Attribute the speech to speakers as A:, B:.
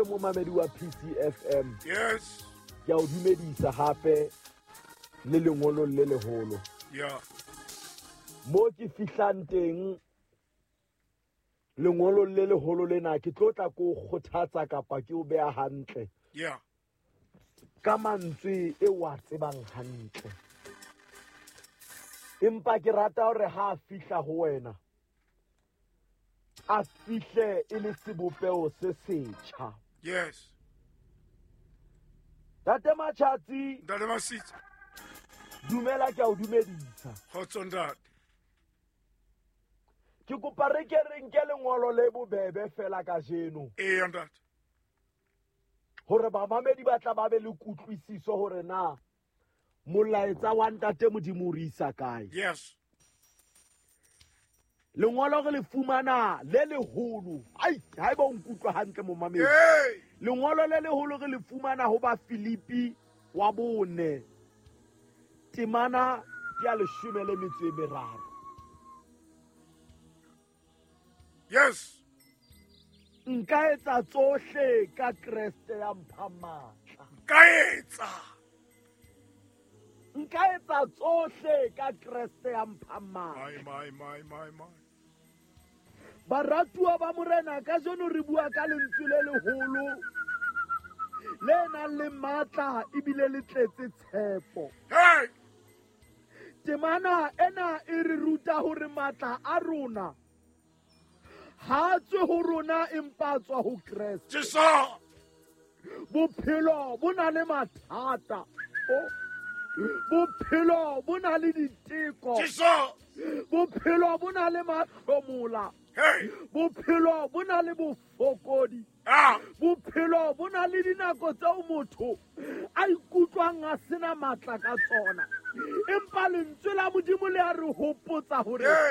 A: Momamedi wa PCFM.
B: Yes.
A: Ke a o dumedisa hape le lengolong le leholo.
B: Yeah.
A: Mo ke fihlang teng lengolong le leholo lena ke tlo tla ko kgothatsa kapa ke o beha hantle.
B: Yeah.
A: Ka mantswe e wa tsebang hantle. Empa ke rata hore ha a fihla ho wena a fihle e le sebopeho se setjha.
B: Yes.
A: Ntate Matjhatsi.
B: Ntate Masitsa.
A: Dumela, ke a o dumedisa.
B: Kgotso ntate.
A: Ke kopa re ke re nke lengolo le bobebe fela kajeno.
B: Eya ntate.
A: Hore bamamedi ba tla ba be le kutlwisiso hore na molaetsa wa ntate Modimo o re isa kae.
B: Yes.
A: Lengolo re le fumana le leholo. Ai, haeba o nkutlwa hantle momamedi.
B: Hey!
A: Lengolo le leholo re le fumana ho ba Filipi wa 4. Temana ya 13.
B: Yes.
A: Nka etsa tsohle ka Kreste ya mphang matla.
B: Nka etsa.
A: Nka etsa tsohle ka Kreste ya mphang matla.
B: My, my, my, my, my.
A: Baratuwa ba Morena, kajeno re bua ka lentswe le leholo le nang le matla ebile le tletse tshepo.
B: Hey!
A: Temana ena e re ruta hore matla a rona ha a tswe ho rona empa a tswa ho Kreste.
B: Jesu!
A: Bophelo bo na le mathata. Oh. Bophelo bo na le diteko.
B: Jesu!
A: Bophelo bo na le mahlomola.
B: Hey!
A: Bophelo bo na le bofokodi.
B: Ah!
A: Bophelo bo na le dinako tseo motho a ikutlwang a sena matla ka tsona. Empa lentswe la Modimo le a re hopotsa hore
B: Hey!